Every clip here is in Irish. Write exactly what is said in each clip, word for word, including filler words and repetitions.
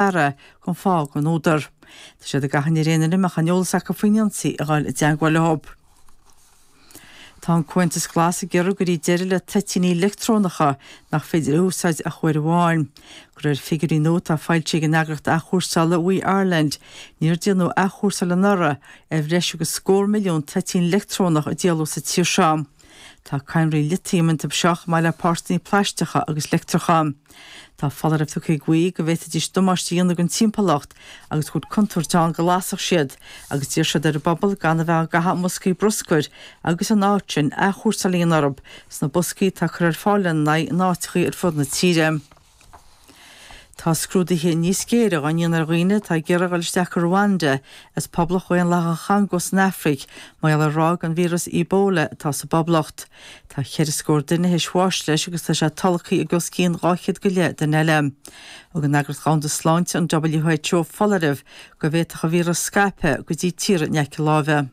Dara chun fáth gan údar. Tá siad ag achainí ar aon duine a mbeadh aon eolas acu faoin ionsaí a dhul i dteagmháil leo. Tá an Comhaontas Glas ag iarraidh go gcuirfí deireadh le toitíní leictreonacha nach féidir a úsáid ach uair amháin. De réir figiúirí nua atá foilsithe ag an eagraíocht athchúrsála WEEE Ireland, níor déanadh athchúrsáil anuraidh ar bhreis agus scór milliún toitín leictreonach a díoladh sa tír seo. Tá cadhnraí litiam iontu seo chomh maith le páirteanna plaisteacha agus leictreacha. Tá foláireamh tugtha ag WEEE go bhféadfaidís damáiste a dhéanamh don timpeallacht agus go bhfuil contúirt ann go lasfadh siad, agus d'iarr siad ar an bpobal gan a bheith á gcaitheamh i mboscaí bruscair agus in áit sin athchúrsáil a dhéanamh orthu sna boscaí atá curtha ar fáil lena n-aghaidh in áiteacha ar fud na tíre. Tá scrúduithe níos géire á ndéanamh ar dhaoine atá ag iarraidh a dhul isteach go Rwanda as Poblacht Dhaonlathach an Chongó san Afraic mar gheall ar ráig an víreas Ebola atá sa bPoblacht. Tá ceithre scór duine théis bháis leis agus tá sé tolgtha ag os cionn dhá chéad go leith duine eile. Thug an Eagraíocht Dhomhanda Sláinte, an WHO, foláireamh go bhféadfadh an víreas scaipeadh go dtí tíortha in aice láimhe.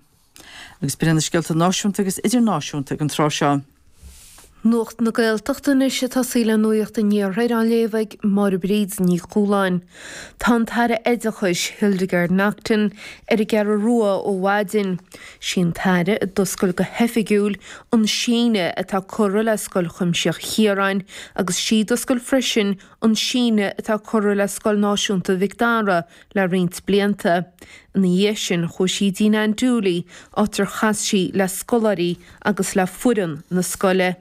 Agus b'in iad na scéalta náisiúnta agus idirnáisiúnta ag an tráth seo. Nuacht na Gaeltachta anois ag tosaí le Nuacht an Iarthair á léamh ag Máire Bríd Ní Chualáin. Tá an tAire Oideachais, Hildegarde Naughton, ar an gCeathrú Rua ó mhaidin. Sí an tAire a d'oscail go hoifigiúil an síneadh atá curtha le Scoil Chuimsitheach Chiaráin agus sí d'oscail freisin an síneadh atá curtha le Scoil Náisiúnta Mhic Dara le roinnt blianta. Ina dhiaidh sin chuaigh sí dtí Ann Dooley, áit ar chas sí le scoláirí agus le foireann na scoile.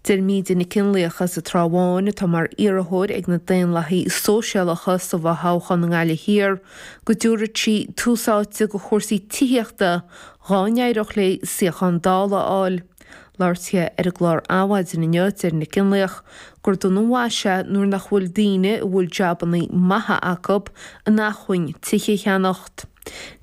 Deir Míde Nic Fhionnlaoich as an Trá Bháin, atá mar iarrthóir ag na Daonlathaithe Sóisialacha sa bhfothoghchán i nGaillimh Thiar, go dtabharfaidh sí tús áite do chúrsaí tithíochta dhá n-éireodh léi suíochán Dála a fháil. Labhairt di ar an gclár Adhmhaidin inniu, deir Nic Fhionnlaoich gur dona an mhaise é nuair nach bhfuil daoine a bhfuil jabannaí maithe acu in acmhainn tithe a cheannacht.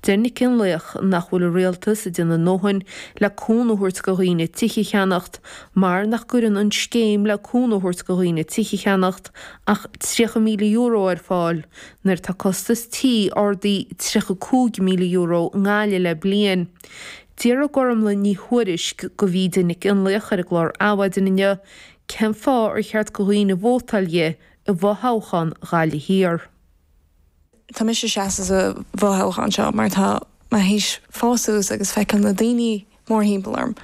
Deir Nic Fhionnlaoich nach bhfuil an rialtas ag déanamh a ndóthain le cúnamh a thabhairt do dhaoine tithe a cheannacht mar nach gcuireann an scéim le cúnamh a thabhairt do dhaoine tithe a cheannacht ach tríocha míle euro ar fáil nuair atá costas tí ardaithe tríocha cúig míle euro i nGaillimh le bliain. D'fhiafraigh Gormlaith Ní Thuairisg de Mhíde Nic Fhionnlaoich ar an gclár Adhmhaidin inniu cén fáth ar cheart do dhaoine vótáil di i bhfothoghchán Ghaillimh Thiar. Tá mise ag seasamh sa bhfothoghchán seo mar tá mé théis fás suas agus feiceáil na daoine mórthimpeall orm,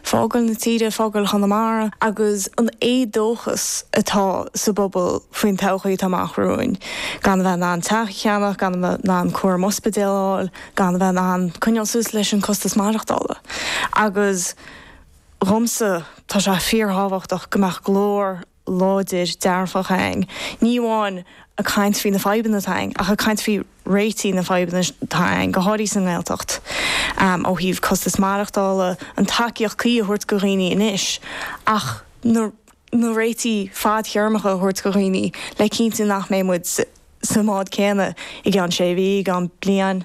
fágáil na tíre, fágáil Chonamara agus an éadóchas atá sa bpobal faoin todhchaí atá amach romhainn, gan a bheith in ann teach a cheannach, gan a bheith in ann cúram ospidéil a fháil, gan a bheith in ann coinneáil suas leis an costas maireachtála. Agus dhomsa, tá sé fíorthábhachtach go mbeadh glór láidir dearfach againn, ní amháin ag caint faoi na fadhbanna atá againn, ach ag caint faoi réitigh na fadhbanna atá againn, go háirithe sa nGaeltacht, ó thaobh costas maireachtála, an tacaíocht cuí a thabhairt do dhaoine anois, ach na na réitigh fadtéarmacha a thabhairt do dhaoine le cinntiú nach mbeidh muid sa mbád céanna i gceann sé mhí, i gceann bliain.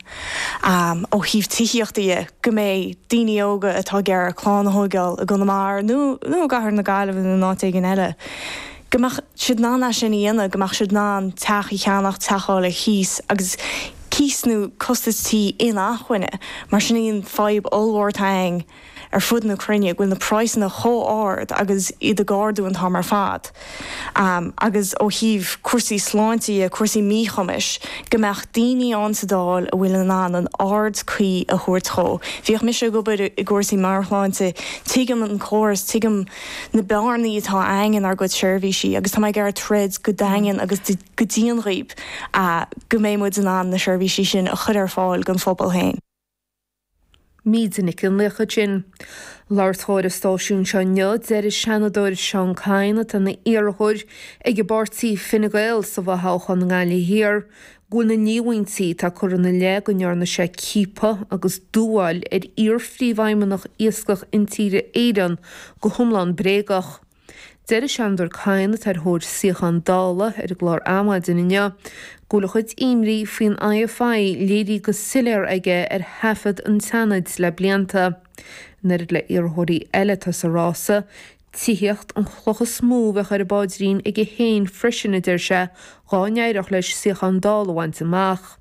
Ó thaobh tithíochta dhe, go mbeidh daoine óga atá ag iarraidh clann a thóigeáil i gConamara nó nó i gcathair na Gaillimhe nó in áit éigin eile, go mbeadh siad in ann é sin a dhéanamh, go mbeadh siad in ann teach a cheannach, teach a fháil ar chíos agus cíos nó costas tí inacmhainne, mar sin í an fadhb ollmhór atá againn. ar fud na cruinne, go bhfuil na praghsanna chomh ard agus iad ag ardú an t-am ar fad. Agus ó thaobh cúrsaí sláinte dhe, cúrsaí míchumais, go mbeadh daoine ann sa Dáil a bhfuil in ann an aird cuí a thabhairt dhó. Bhíodh mise ag obair i gcúrsaí meabhairshláinte, tuigim an córas, tuigim na bearnaí atá againn inár gcuid seirbhísí agus tá mé ag iarraidh troid go daingean agus go dian dhaoib go mbeidh muid in ann na seirbhísí sin a chur ar fáil don phobal féin. Míde Nic Fhionnlaoich ansin. Labhairt ar an stáisiún seo inniu, deir an Seanadóir Seán Kyne, atá ina iarrthóir ag an bpáirtí Fine Gael sa bhfothoghchán i nGaillimh Thiar, go bhfuil na líomhaintí atá curtha ina leith go ndearna sé ciapadh agus dúmhál ar iar-phríomhfheidhmeannach Iascach Intíre Éireann go hiomlán bréagach. Deir an Seanadóir Kyne, atá ar thóir suíochán Dála, ar an gclár Adhmaidin inniu, go bhfuil a chuid imní faoin IFI léirithe go soiléir aige ar thaifead an tSeanaid le blianta. In oiread le iarrthóirí eile atá sa rása, tithíocht an chloch is mó a bheadh ar an bpaidrín aige féin freisin, a deir sé, dhá n-éireodh leis suíochán Dála a bhaint amach.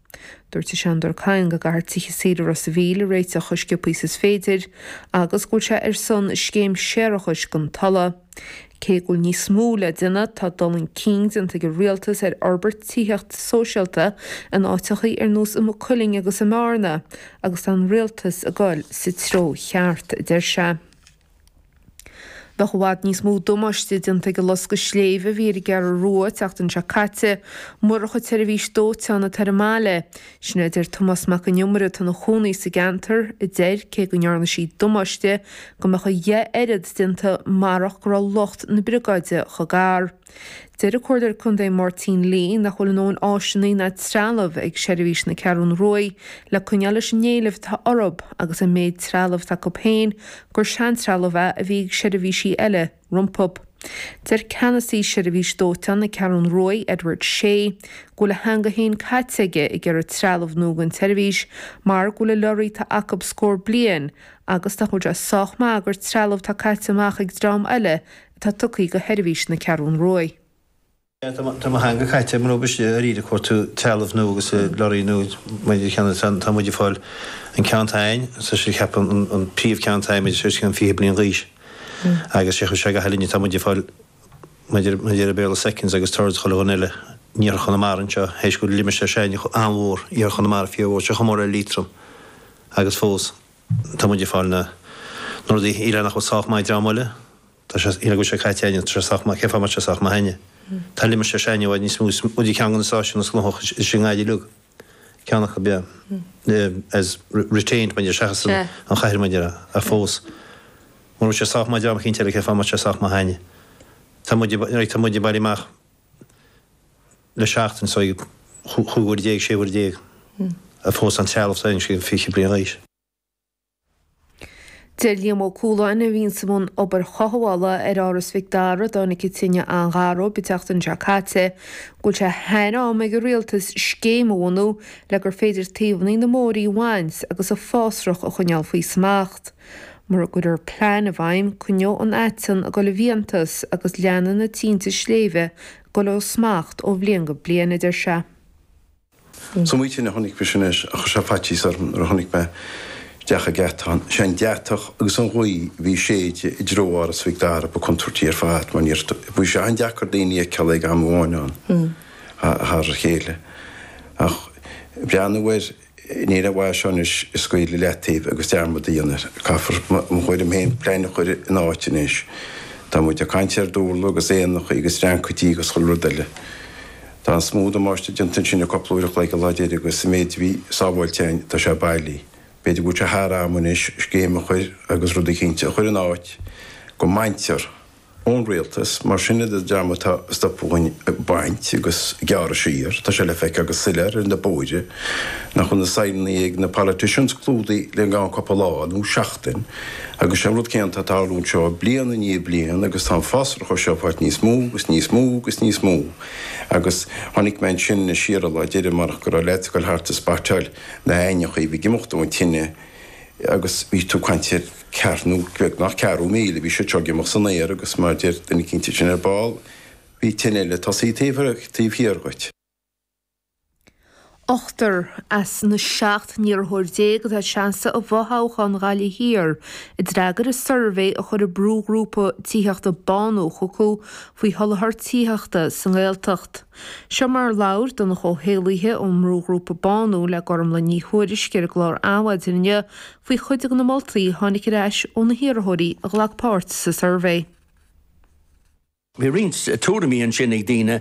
Dúirt an Seanadóir Kyne go gcaithfear tithe saoire Ros a' Mhíl a réiteach chomh sciobtha is is féidir agus go bhfuil sé ar son scéim séarachais don tuile. Cé go bhfuil níos mó le déanamh, tá dul chun cinn déanta ag an rialtas ar fhorbairt tithíocht sóisialta in áiteachaí ar nós i Maigh Cuilinn agus i mBearna agus tá an rialtas ag dul sa treo cheart, a deir sé. Bheadh i bhfad níos mó damáiste déanta ag an loscadh sléibhe a bhí ar an gCeathrú Rua an tseachtain seo caite murach an tseirbhís dóiteáin atá ar an mbaile. Sin é a deir Tomás Mac Con Iomaire atá ina chónaí sa gceantar, a deir, cé go ndearna sí damáiste, go mbeadh a dheich oiread déanta marach go raibh lucht na briogáide chomh gar. Deir an Comhairleoir Contae Máirtín Lee nach bhfuil a ndóthain áiseanna ná trealamh ag seirbhís na Ceathrún Ruaidh le coinneáil leis an éileamh atá orthu agus an méid trealamh atá acu féin gur seantrealamh é a bhí ag seirbhísí eile rompu. Deir ceannasaí Seirbhís Dóiteáin na Ceathrún Ruaidh, Edward Shea, go bhfuil a theanga féin caite aige ag iarraidh trealamh nua don tseirbhís mar go bhfuil an lorry atá acu scór bliain agus nach bhfuil sé sách maith gur trealamh atá caite amach ag dream eile atá tugtha do sheirbhís na Ceathrún Ruaidh. Tá mo theanga caite mar ambaiste arís ag cuartú trealamh nua agus lorraí nua maidir cheana tá muid ag fáil an ceann atá againn, tá sé ceapadh an príomh ceann atá againn maidir sé an fiche bliain d'aois agus sé chuir sé go hálainn tá muid ag fáil maidir maidir Béarla seconds agus thirds chuile dhuine eile in Iarthar Chonamara anseo théis go bhfuil limistéar s'againne an-mhór Iarthar Chonamara fíormhór sé chomh mór le Liatroim agus fós tá muid ag fáil na na rudaí eile nach bhfuil sách maith ag dream eile. Tá sé, go bhfuil sé caite againne, tá sé sách maith, cén fáth a mbeadh sé sách maith againne? Tá limistéar s'againne i bhfad níos mó, is muid ceann de na stáisiúin is gnóthach is i nGaillimh uilig, ceann acu, yeah, as retained mar seachas an chathair mar ach fós, mura bhfuil sé sách maith ag dream eicínt eile, cén fáth a mbeadh sé sách maith againne? Tá muid, right, tá muid ag bailiú amach le seachtain so chúig uair déag, sé uair déag, ach fós an trealamh s'againne sé fiche bliain d'aois. Deir Liam Ó Cualáin, a bhíonns i mbun obair chothabhála ar Áras Mhic Dara a dtáinig an tine an-ghar dóibh an tseachtain seo caite, go bhfuil sé thar am ag an rialtas scéim a bhunú le gur féidir taobhanna na mbóithrí a bhaint agus an fásrach a choinneáil faoi smacht. Mura gcuirfear plean i bhfeidhm, coinneoidh an aiteann ag dul i bhfiántas agus leanfaidh na tinte sléibhe ag dul ó smacht ó bhliain go bliain, a deir sé. Is iomaí tine a chonaic mise anois a chuir sé faitíos orm nuair a chonaic mé isteach ag geatán. Sé an deatach agus an ghaoth a bhí ag séideadh i dtreo Áras Mhic Dara ba contúirtí ar fad mar níor bhí sé an-deacair daoine a fheiceáil ag am amháin ann thar a chéile. Ach breathnú air Ní raibh mhaith seo anois a scaoileadh i leataobh agus dearmad a dhéanamh air. Caithfear, mo thuairim féin, plean a chur in áit anois. Tá muid ag caint ar Durla agus éanachaí agus dreancaidí agus chuile rud eile. Tá an is mó damáiste déanta ansin i cúpla uair a chloig an lá deiridh agus an méid a bhí sábháilte againn, tá sé bailí. B'fhéidir go bhfuil sé thar am anois scéim a chur agus rud eicínt a chur in áit go mbaintear ón rialtas, mar sin iad an dream atá ag stopadh dhúinn ag baint agus ag gearradh siar. Tá sé le feiceáil go soiléir ar na bóithre nach bhfuil na signeannaí ag na politicians clúdaithe le gan cúpla lá nó seachtain agus sé an rud céanna atá ag tarlú anseo bliain i ndiaidh bliain agus tá an fásrach seo ag fáilt níos mó agus níos mó agus níos mó agus chonaic mé ansin siar an lá deiridh marach go raibh leaids ag dul thart ag spotáil na h-aibhneacha a bhí ag imeacht ón tine agus bhí tú ag caint ar ceathrú nó beagnach ceathrú míle, bhí siad seo ag imeacht san aer agus mar a deir duine eicínt ansin ar ball, bhí tine eile tosaithe taobh taobh thiar dhuit. Ochtar as na seacht n-iarrthóir déag atá ag seasamh i bhfothoghchán Ghaillimh Thiar a d'fhreagair an suirbhé a chuir an brúghrúpa tithíochta Bánú chucu faoi sholáthar tithíochta sa nGaeltacht. Seo mar a labhair Donncha Ó hÉallaithe ón mbrúghrúpa Bánú le Gormlaith Ní Thuairisg ar an gclár Adhmhaidin inniu faoi chuid de na moltaí a tháinig ar ais ó na hiarrthóirí a ghlac páirt sa suirbhé. Bhí roinnt tuairimí ansin ag daoine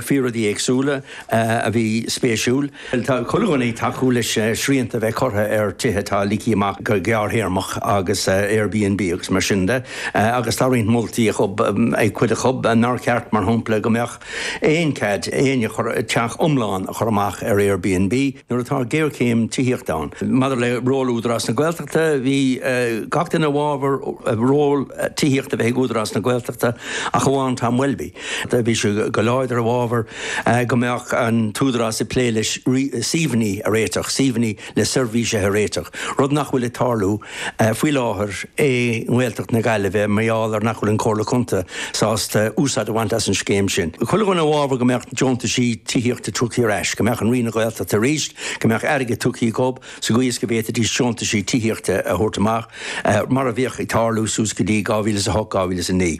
faoi rudaí éagsúla a bhí spéisiúil. Tá chuile dhuine ag tacú leis srianta a bheith curtha ar tithe atá ligthe amach go gearrthéarmach agus Airbnb agus mar sin de agus tá roinnt moltaí ag cuid acu nár cheart, mar shampla, go mbeadh aon cead éinne teach iomlán a chur amach ar Airbnb nuair atá géarchéim tithíochta ann. Maidir le ról Údarás na Gaeltachta, bhí gach duine i bhfabhar ról tithíochta a bheith ag Údarás na Gaeltachta ach amháin Tom Welby. Bhí sé go láidir i bhfabhar go mbeadh an tÚdarás ag plé le suíomhanna a réiteach, suíomhanna le seirbhísithe a réiteach, rud nach bhfuil ag tarlú faoi láthair i nGaeltacht na Gaillimhe mar gheall ar nach bhfuil an Chomhairle Contae sásta úsáid a bhaint as an scéim sin. Chuile dhuine i bhfabhar go mbeadh deontaisí tithíochta tugtha ar ais, go mbeadh an Roinn na Gaeltachta arís, go mbeadh airgead tugtha dhób sa gcaoi is go bhféadfaidís deontaisí tithíochta a thabhairt amach mar a bhíodh ag tarlú suas go dtí dhá mhíle is a hocht, dhá mhíle is a naoi.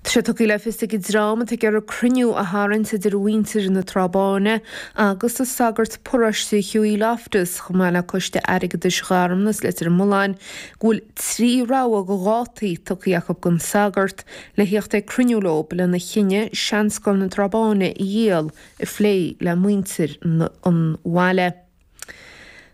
Tá sé tugtha le fios ag an dream atá ag iarraidh cruinniú a tharraingt idir mhuintir na Trá Báine agus an sagart paróiste Hughie Loftus chomh maith le coiste airgeadais Gharmanas Leitir Mealláin go bhfuil trí rogha de dhátaí tugtha acu don sagart le theacht ag cruinniú leo lena chinneadh Seanscoil na Trá Báine a dhíol a phlé le muintir an bhaile.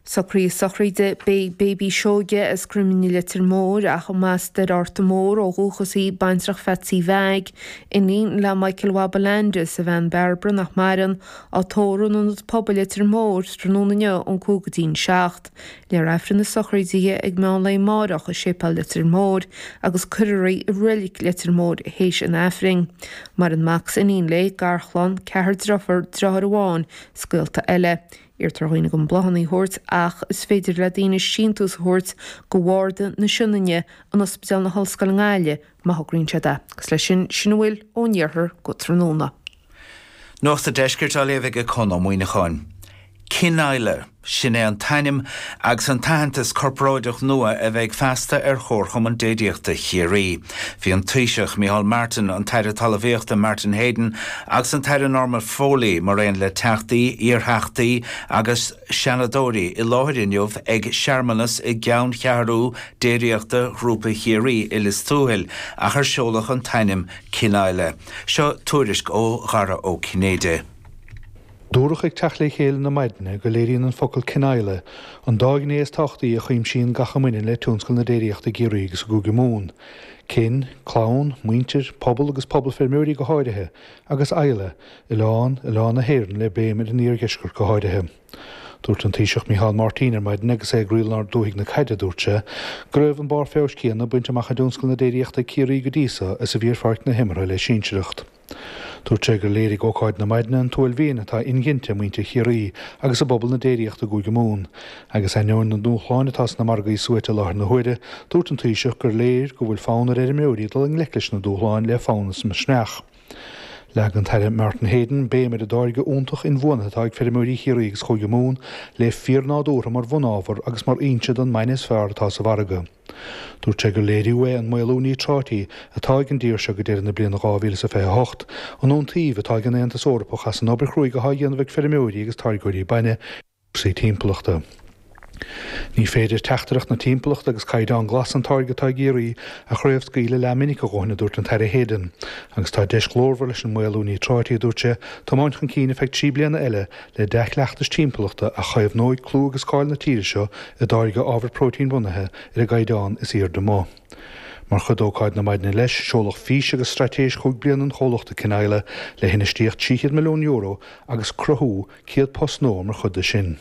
Socruithe sochraide beidh Baby Seoige as Croimlín Leitir Móir ach más as Ard Mór ó dhúchas í baintreach Phatsy Mheaig, iníon le Michael Wabba Landis a bhean Barbara nach maireann á tórramh in Ionad Pobail Leitir Móir tráthnóna inniu ón cúig go dtí'n seacht. Léifear Aifreann na sochraide di ag meán lae amárach i Séipéal Leitir Móir agus cuirfear í i Reilig Leitir Móir théis an Aifrinn. Maireann mac is iníon léi, garchlann, ceathrar deirfiúr, deartháir amháin, is gaolta eile. Iarrtar ar dhaoine gan bláthanna a thabhairt ach is féidir le daoine síntiús a thabhairt go Bharda na Sionainne in Ospidéal na hOllscoile i nGaillimh má thograíonn siad é. Agus leis sin sin a bhfuil ón iarthar go tráthnóna. Nuacht an Deiscirt á léamh ag Conn Ó Muíneacháin. Cineile, sin é an t-ainm agus an t-aitheantas corparáideach nua a bheidh feasta ar Chomharchumann Déiríochta Chiarraí. Bhí an Taoiseach Micheál Martin, an tAire Talmhaíochta Martin Heydon agus an tAire Norma Foley mar aon le teachtaí, iartheachtaí agus seanadóirí i láthair inniu ag searmanas i gceanncheathrú Déiríochta Ghrúpa Chiarraí i Lios Tuathail ach ar seoladh an t-ainm Cineile. Seo tuairisc ó Dhara Ó Cinnéide. Dúradh ag teacht le chéile na maidine go léiríonn an focal Cineile an dá ghné is tábhachtaí a chuimsíonn gach a mbaineann le tionscal na déiríochta i gCiarraí agus i gCúige Mumhan. Cin, clann, muintir, pobal agus pobal feirmeoirí go háirithe, agus Isle, oileán, oileán na hÉireann le béim ar an iardheisceart go háirithe. Dúirt an Taoiseach Micheál Martin ar maidin agus é ag croílár dúthaigh na caide, dúirt sé, go raibh an barr feabhais céanna bainte amach i dtionscal na déiríochta ag Ciarraí go dtí seo is a bhí ar pháirc na himeartha le sinsearacht. Dúirt sé gur léirigh ócáid na maidine an t-uaillmhian atá inghinte i muintir Chiarraí agus i bpobal na déiríochta i gCúige Mumhan. Agus ainneoin na ndúshláin atá sna margaí suaite i láthair na huaire, dúirt an Taoiseach gur léir go bhfuil fonn ar fheirmeoirí dul i ngleic leis na dúshláin le fonn is misneach. Leag an tAire Martin Heydon béim ar an dtáirge iontach inbhuanaithe atá ag feirmeoirí Chiarraí agus Chúige Mumhan le fíornádúrtha mar bhunábhar agus mar fhoinse don mbainne is fearr atá sa mhargadh. Dúirt sé gur léiriú é an maolú níotráití atá ag an dtír seo go deireadh na bliana dhá mhíle is a fiche a hocht, an iontaoibh atá ag an Aontas Eorpach as an obair chruaidh atá á dhéanamh ag feirmeoirí agus táirgeoirí bainne i gcúrsaí timpeallachta. Ní féidir teachtaireacht na timpeallachta agus caighdeán glas an táirge atá i gCiarraí a chraobhscaoileadh leathmhinic a dhóthain, a dúirt an tAire Heydon. Agus tá deis ghlórmhar leis an maolú níotráití, a dúirt sé, tiomáint chun cinn ar feadh trí bliana eile le dea-chleachtais timpeallachta a chaomhnóidh clú agus cáil na tíre seo i dtáirgeadh ábhar próitéinbhunaithe ar an gcaighdeán is airde amuigh. Mar chuid d'ócáid na maidine leis, seoladh fís agus straitéis chúig bliana an chomhlachta Cineile le hinfheistíocht trí chéad milliún euro agus cruthú céad post nua mar chuid de sin.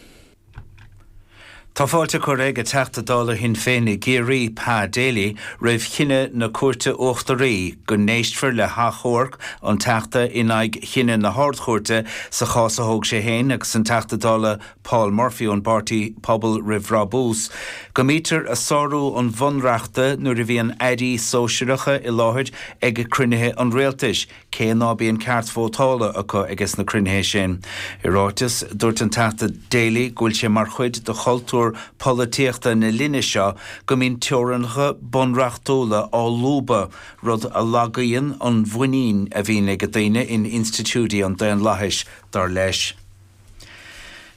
Tá fáilte curtha ag an Teachta Dála Shinn Féin i gCiarraí, Pa Daly, roimh chinneadh na Cúirte Uachtaraí go n-éistfear le hachomharc an Teachta in aghaidh chinneadh na hArd-Chúirte sa chás a thóg sé féin agus an Teachta Dála Paul Murphy ón bpáirtí Pobal Roimh Bhrabús go mbítear ag sárú an Bhunreachta nuair a bhíonn airí sóisearacha i láthair ag cruinnithe an rialtais. cé ná bíonn ceart vótála acu ages na cruinnithe sin. I ráiteas, dúirt an Teachta Daly go bhfuil sé mar chuid de chultúr polaitíochta na linne seo go mbíonn teorainneacha bunreachtúla á lúbadh, rud a lagaíonn an mhuinín a bhíonn ag daoine in institiúidí an daonlathais, dar leis.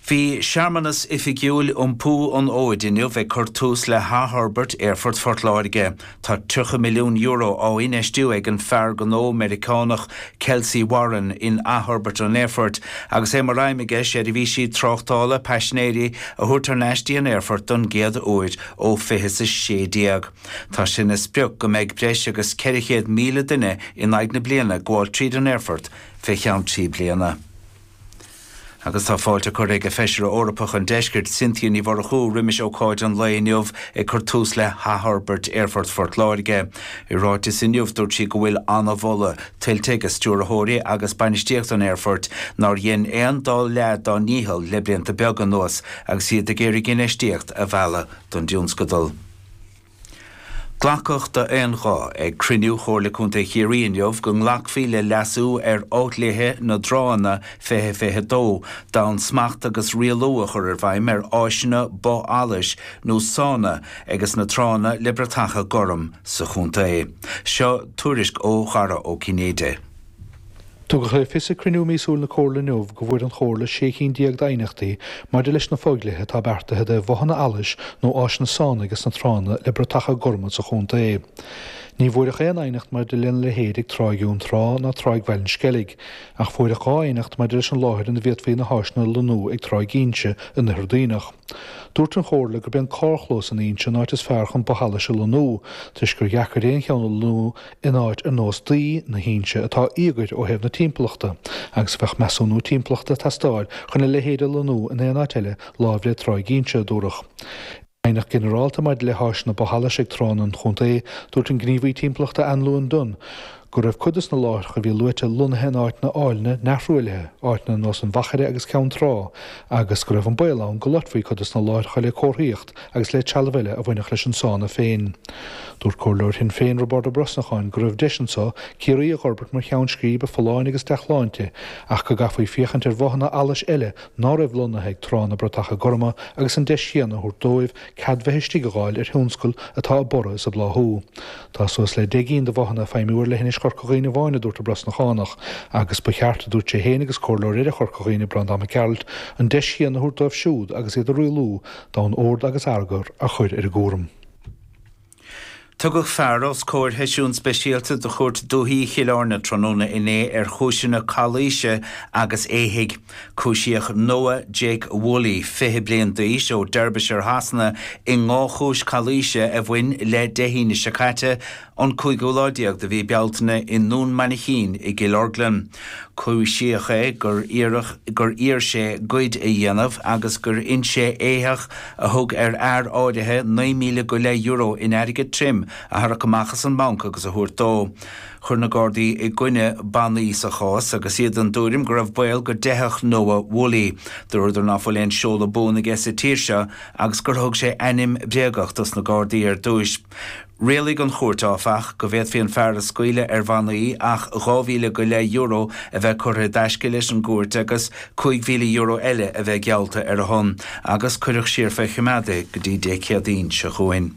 Bhí searmanas oifigiúil iompú an fhóid inniu ag cur tús le hathfhorbairt Aerfort Phort Láirge. Tá tríocha milliún euro á infheistiú ag an fear gnó Meiriceánach Kelcy Warren in athfhorbairt an aerfoirt agus é mar aidhm aige seirbhísí tráchtála paisinéirí a thabhairt thar n-ais dtí an aerfort don gcéad uair ó fiche is a sé déag. Tá sé ina sprioc go mbeidh breis agus ceithre chéad míle duine in aghaidh na bliana ag gabháil tríd an aerfort fé cheann trí bliana. Agus tá fáilte curtha ag Feisire Eorpach an Deiscirt, Cynthia Ní Mhurchú, roimis ócáid an lae inniu ag cur tús le hathfhorbairt Aerfort Phort Láirge. I ráiteas inniu dúirt sí go bhfuil an-mholadh tuillte ag stiúrthóirí agus bainistíocht an aerfoirt nár dhein aon dá leath dá ndícheall le blianta beaga anuas agus iad ag iarraidh infheistíocht a mhealladh don dtionscadal. Glacadh d'aon ghuth ag cruinniú Chomhairle Contae Chiarraí inniu go nglacfaí le leasú ar fhodhlíthe na dtránna fiche fiche dó d'fhonn smacht agus rialú a chur i bhfeidhm ar áiseanna both allais nó sána ages na tránna le bratacha gorm sa chontae. Seo tuairisc ó Dhara Ó Cinnéide. Tugadh le fios ag cruinniú míosúil na Comhairle inniu go bhfuair an Chomhairle sé cinn déag d'aighneachtaí maidir leis na fodhlíthe atá beartaithe do bhothanna allais nó áiseanna sána ages na tránna le bratacha gorma sa chontae. Ní bhfuair aon aighneacht maidir lena leithéid ag Tráigh Dhún Trá ná Tráigh Bhaile an Sceilg, ach fuair dhá aighneacht maidir leis an láthair ina bhféadfaí na háiseanna a lonnú ag Tráigh Inse in Oirthear Duibhneach. Dúirt an Chomhairle gurb é an carrchlós in Inse an áit is fearr chun both allais a lonnú, toisc gur dheacair aon cheann a lonnú in áit ar nós Daoi na hInse atá íogair ó thaobh na timpeallachta, agus bheadh measúnú timpeallachta ag teastáil chun a leithéid a lonnú in aon áit eile láimh le Tráigh Inse, a dúradh. Aighneacht ginearálta maidir le háiseanna both allais ag tránna an chontae, dúirt an gníomhaí timpeallachta Anne Lewin Dunne go raibh cuid des na láithreacha a bhí luaite lonnaithe in áiteanna áilne neamhthruaillithe, áiteanna ar nós an Mhachaire agus Ceann Trá, agus go raibh an baol ann go loitfí cuid des na láithreacha le comharthaíocht agus le trealamh eile a bhainfeadh leis an sána féin. Dúirt comhairleoir Shinn Féin Roibeárd Ó Brosnacháin go raibh deis anseo Ciarraí a fhorbairt mar cheann scríbe folláine agus dea-shláinte ach go gcaithfí féachaint ar bhothanna allais eile ná raibh lonnaithe ag tránna bratacha gorma agus an deis chéanna a thabhairt dóibh cead bheith istigh a fháil ar thionscal atá ag borradh is ag bláthú. Tá suas le deich gcinn de bhothanna ag feidhmiú ar leithinis Chorca Dhuibhne amháin, a dúirt an Brosnachánach, agus ba cheart, a dúirt sé féin agus comhairleoir eile Chorca Dhuibhne, Breandán Mac Gearailt, an deis chéanna a thabhairt dóibh siúd agus iad a rialú d'fhonn ord agus eagar a chur ar a gcúram. Tugadh fear os comhair sheisiún speisialta de Chúirt Dúiche Chill Airne tráthnóna inné ar chúiseanna calaoise agus éithigh. Cúisíodh Noah Jake Woolley, fiche bliain d'aois ó Derbyshire Shasana i ndhá chúis calaoise a bhain le Dé hAoine seo caite, an cúigiú lá déag de mhí Bealtaine i nDún Mainchín i gCill Orglan. Cúisíodh é gur iarradh gur iarr sé goid a dhéanamh agus gur inis sé éitheach a thug ar fhear áirithe naoi míle go leith euro in airgead tirim a tharrac amach as an mbanc agus a thabhairt dó. Chuir na Gardaí i gcoinne bannaí sa chás agus iad den tuairim go raibh baol go dteithfeadh Noah Woolley. Dúradar ná fuil aon seoladh buan aige sa tír seo agus gur thug sé ainm bréagach dos na Gardaí ar dtúis. Rialaigh an chúirt áfach go bhféadfaí an fear a scaoileadh ar bhannaí ach dhá mhíle go leith euro a bheith curtha i dtaisce leis an gcúirt agus cúig mhíle euro eile a bheith geallta ar a shon agus cuireadh siar fé choimeád é go dtí Dé Céadaoin seo chugainn.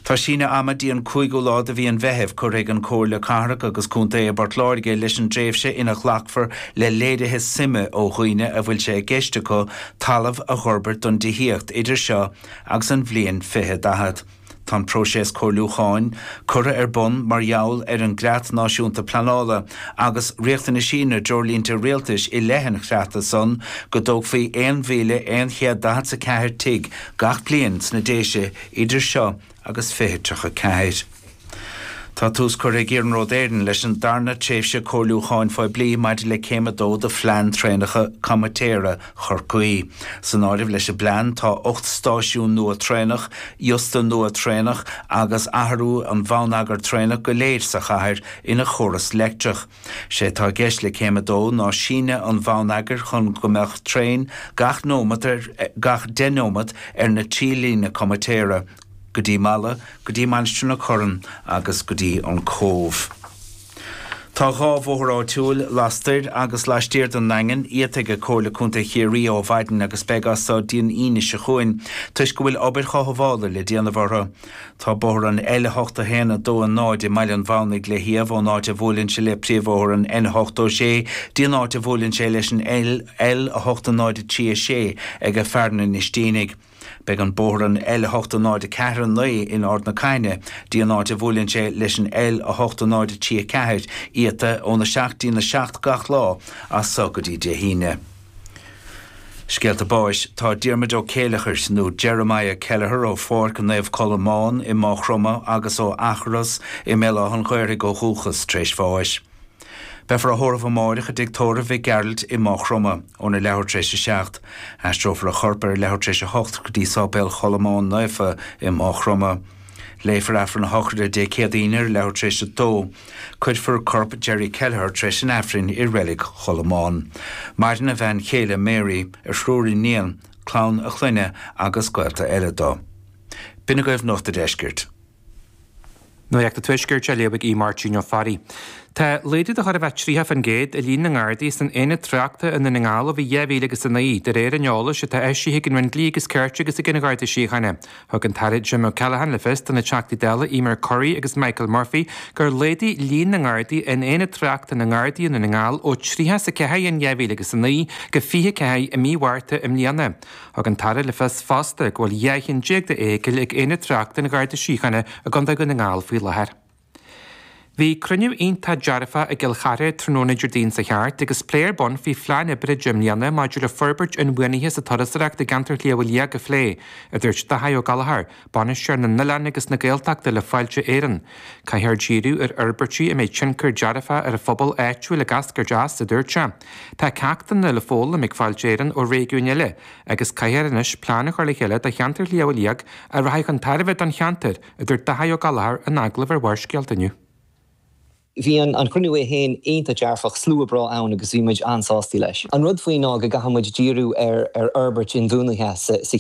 Tá síneadh ama dtí an cúigiú lá de mhí an Mheithimh curtha ag an Comhairle Cathrach agus Contae i bPort Láirge leis an dtréimhse ina ghlacfar le léirithe suime ó dhaoine a bhfuil sé i gceist acu talamh a dh'fhorbairt don dtithíocht idir seo agus an bhliain fiche daichead. Tá an próiseas comhairliúcháin curtha ar bun mar gheall ar an gCreat Náisiúnta Pleanála agus riachtanaisí na dtreoirlínte rialtais i leith an chreata san go dtógfaí aon mhíle aon chéad daichead 's a ceathair tigh gach bliain sna Déise idir seo agus fiche tríocha ceathair. Tá tús curtha ag Iarnród Éireann leis an darna tréimhse comhairliúcháin phoiblí maidir le Céim a dó de Phlean Traenacha Comaitéara Chorcaí. San áireamh leis an bplean tá ocht stáisiún nua traenach, iosta nua traenach agus athrú an bhonneagair traenach go léir sa chathair ina chóras leictreach. Sé atá i gceist le Céim a dó ná síneadh an bhonneagair chun go mbeadh traein gach nóiméad ar gach deich nóiméad ar na trí líne comaitéara, go dtí Mala, go dtí Mainistir na Corann agus go dtí an Cóbh. Tá dhá bhóthar áitiúil, lastoir agus laistiar den nDaingean, iata ag Comhairle Contae Chiarraí ó mhaidin agus beidh as so dtí an Aoine seo chugainn toisc go bhfuil obair chothabhála le déanamh orthu. Tá bóthar an L a hocht a haon a dó a náid i mBaile an Mhamhnaigh le hiamh ón áit a bhuaileann sé le príomhbhóthar an N ochtó sé dtí an áit a bhuaileann sé leis an L a hocht a náid a trí a sé ag Fearann an Inistínigh. Beidh an bóthar an L a hocht a náid a ceathair a naoi in Ard na Caithne dtí an áit a bhuaileann sé leis an L a hocht a náid a trí a ceathair iata óna seacht dtína seacht gach lá as so go dtí Dé hAoine. Scéalta báis, Tá Diarmuid Ó Céileachair, nó Jeremiah Kelleher ó Pháirc Naomh Colmán i Maigh Chromtha agus ó Eachros i mBéal Átha an Ghaorthaidh ó dhúchas, tar éis bháis. Beifear á thórramh amáireach i dTigh Tórraimh Mhic Gearailt i Maigh Chromtha, óna leathuair tar éis a seacht. Aistreofar a chorp ar a leathuair tar éis a hocht go dtí Sáipéal Cholmáin Naofa i Maigh Chromtha. Léifear Aifreann a shochraide Dé Céadaoin ar a leathuair tar éis a dó. Cuirfear corp Jerry Kelleher tar éis an Aifrinn i Reilig Cholmáin. Maireann a bhean chéile Mary, a thriúr iníon, clann a chlainne agus gaolta eile dó. B'in agaibh Nuacht a' Deiscirt. Nuacht an Tuaiscirt á léamh ag Máirtín Ó Fearraigh. Tá laghdú de chóir a bheith tríocha faoin gcéad i líon na nGardaí san aonad tráchta i nDún na nGall ó bhí dhá mhíle agus a naoi, de réir an eolais atá eisithe ag an Roinn Dlí agus Cirt agus ag an Gharda Síochána. Thug an tAire Jim O'Callaghan le fios do na Teachtaí Dála Emer Currie agus Michael Murphy gur laghdaigh líon na nGardaí in aonad tráchta na nGardaí i Ndún na nGall ó tríocha is a ceathair in dhá mhíle agus a naoi go fiche ceathair i mí Mhárta i mbliana. Thug an tAire le fios fosta go bhfuil dhá cheann déag d'fheithicil ag aonad tráchta an Gharda Síochána i gContae Dhún na nGall faoi láthair. Bhí cruinniú iontach dearfach i gCill Chartha tráthnóna Déardaoin seo thart agus plé ar bun faoi phlean oibre deich mbliana maidir le forbairt inbhuanaithe sa turasóireacht i gceantar Shliabh Liag a phlé, a dúirt Daithí Ó Gallchóir, bainisteoir na n-oileán agus na Gaeltachta le Fáilte Éireann. Caithfear díriú ar fhorbairtí a mbeidh tionchar dearfach ar an phobal áitiúil ag eascairt as, a dúirt sé. Tá ceachtanna le foghlaim ag Fáilte Éireann ó réigiúin eile agus caithfear anois plean a chur le chéile do cheantar Shliabh Liag a rachaidh chun tairbhe don cheantar, a dúirt Daithí Ó Gallchóir in agallamh ar Bharrscéalta inniu. Bhí an an cruinniú é féin iontach dearfach slua breá ann agus bhí muid an-sásta leis. An rud faoi ná go gcaithfidh muid díriú ar ar fhorbairt inbhuanaithe sa, sa